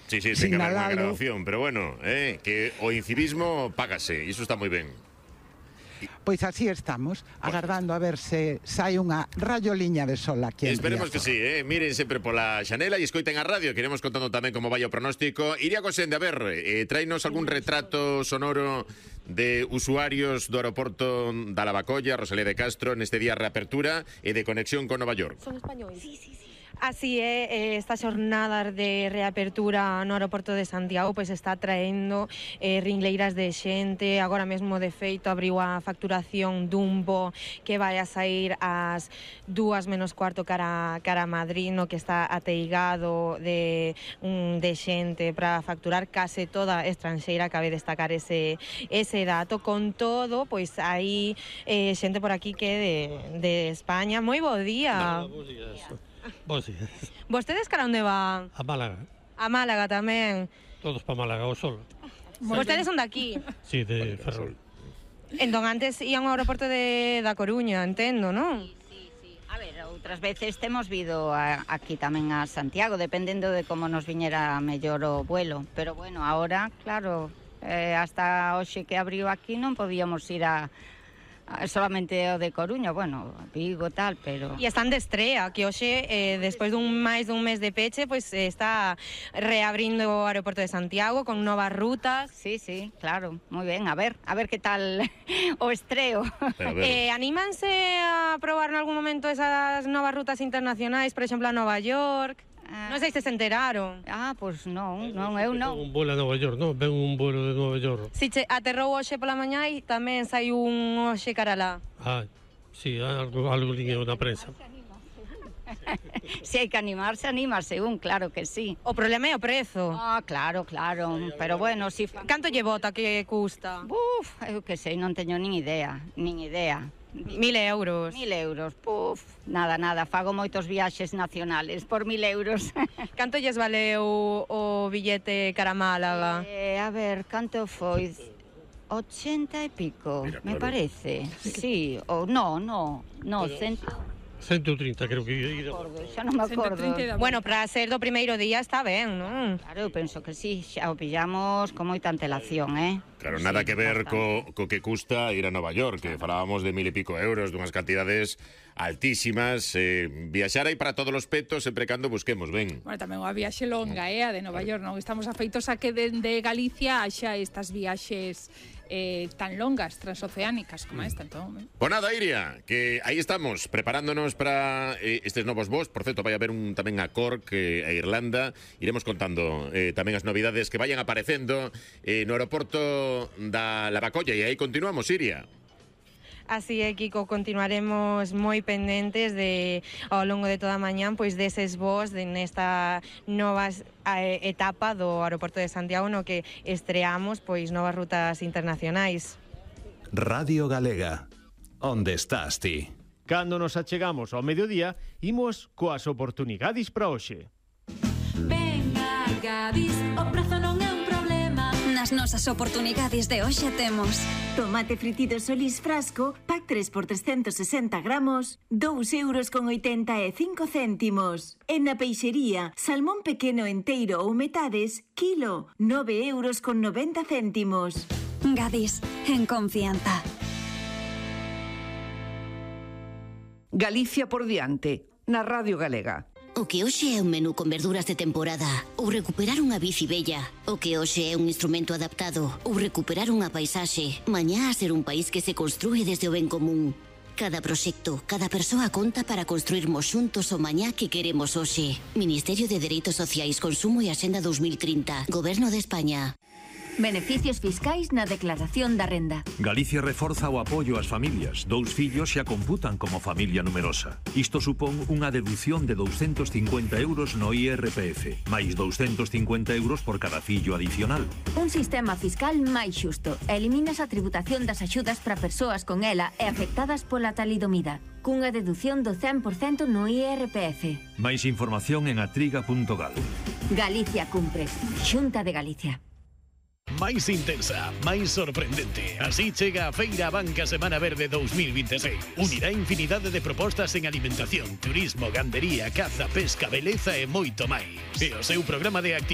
Sí, ten que haber unha sinalalo. grabación, pero bueno, que o incivismo págase, iso está moi ben. Pois así estamos, agardando a ver se sai unha rayoliña de sol aquí en Esperemos que Riazor. sí, miren sempre pola xanela e escoiten a radio, que iremos contando tamén como vai o pronóstico. Iria Cosende, a ver, tráenos algún retrato sonoro de usuarios do aeroporto da Lavacolla, Rosalía de Castro, neste día reapertura e de conexión con Nova York. Son españois? Sí. Así é, esta xornada de reapertura no aeroporto de Santiago pois está traendo ringleiras de xente. Agora mesmo, de feito, abriu a facturación dun voo que vai a sair ás 2:15 cara a Madrid, no que está ateigado de xente para facturar, case toda estranxeira. Cabe destacar ese dato. Con todo, pois hai xente por aquí que de España. Moi bo día. Bos días. Vostedes cara onde van? A Málaga. A Málaga tamén. Todos para Málaga, o sol. Vostedes son de aquí. Sí, de Ferrol. Entón antes ían ao aeroporto da Coruña, entendo, non? Sí. A ver, outras veces temos vido aquí tamén a Santiago, dependendo de como nos viñera mellor o vuelo. Pero bueno, ahora, claro, hasta hoxe que abriu aquí non podíamos ir solamente o de Coruña, bueno, Vigo tal, pero... E están de estrea, que hoxe, despois máis dun mes de peche, pois está reabrindo o aeroporto de Santiago con novas rutas. Sí, claro, moi ben, a ver que tal o estreo. Anímanse a probar en algún momento esas novas rutas internacionais, por exemplo, a Nova York? Non sei se se enteraron. Pois non, eu non. Un vuelo a Nova York, non? Ven un vuelo de Nova York. Si aterrou hoxe pola mañá e tamén sai un hoxe cara lá. Sí, algo liño na prensa. Se hai que animarse, anímase claro que sí. O problema é o prezo. Claro, pero bueno, si... Canto lle bota que custa? Eu que sei, non teño nin idea. 1.000 euros. 1.000 euros, nada, fago moitos viaxes nacionales por 1.000 euros. Canto lles valeu o billete cara a Málaga? A ver, canto foi? 80 e pico, me parece. Sí, ou no, 130, creo que... Xa non me acordo. Bueno, para ser do primeiro día está ben, non? Claro, eu penso que sí, xa o pillamos con moita antelación, Claro, nada que ver co que custa ir a Nova York, que falábamos de 1.000 e pico euros, dunhas cantidades altísimas. Viaxar aí para todos os petos, sempre cando busquemos, ben. Bueno, tamén unha viaxe longa, a de Nova York, non? Estamos afeitos a que dende Galicia haxa estas viaxes tan longas, transoceánicas como esta, entón. Pues nada, Iria, que aí estamos, preparándonos para estes novos voos. Por certo, vai haber tamén a Cork, a Irlanda. Iremos contando tamén as novidades que vayan aparecendo no aeroporto da Lavacolla. E aí continuamos, Iria. Así é, Kiko, continuaremos moi pendentes ao longo de toda a mañán pois deses voos nesta nova etapa do aeroporto de Santiago, no que estreamos pois novas rutas internacionais. Radio Galega, onde estás ti? Cando nos achegamos ao mediodía, imos coas oportunidades para hoxe. Venga, Gadis, o prazo non é un problema. Nas nosas oportunidades de hoxe temos tomate fritido Solís frasco, pack 3 por 360 gramos, 2,85 €. En na peixería, salmón pequeno enteiro ou metades, kilo, 9,90 €. Gadis, en confianza. Galicia por diante, na Radio Galega. O que hoxe é un menú con verduras de temporada ou recuperar unha bici bella. O que hoxe é un instrumento adaptado ou recuperar unha paisaxe. Mañá a ser un país que se construe desde o ben común. Cada proxecto, cada persoa conta para construirmos xuntos o mañá que queremos hoxe. Ministerio de Dereitos Sociais, Consumo e Axenda 2030. Goberno de España. Beneficios fiscais na declaración da renda. Galicia reforza o apoio ás familias. 2 fillos xa computan como familia numerosa. Isto supón unha deducción de 250 € no IRPF, máis 250 € por cada fillo adicional. Un sistema fiscal máis xusto. Eliminas a tributación das axudas para persoas con ela e afectadas pola talidomida, cunha deducción do 100% no IRPF. Máis información en atriga.gal. Galicia cumpre. Xunta de Galicia. máis intensa, máis sorprendente. Así chega a Feira Banca Semana Verde 2026. Unirá infinidade de propostas en alimentación, turismo, gandería, caza, pesca, beleza e moito máis. E o seu programa de actividade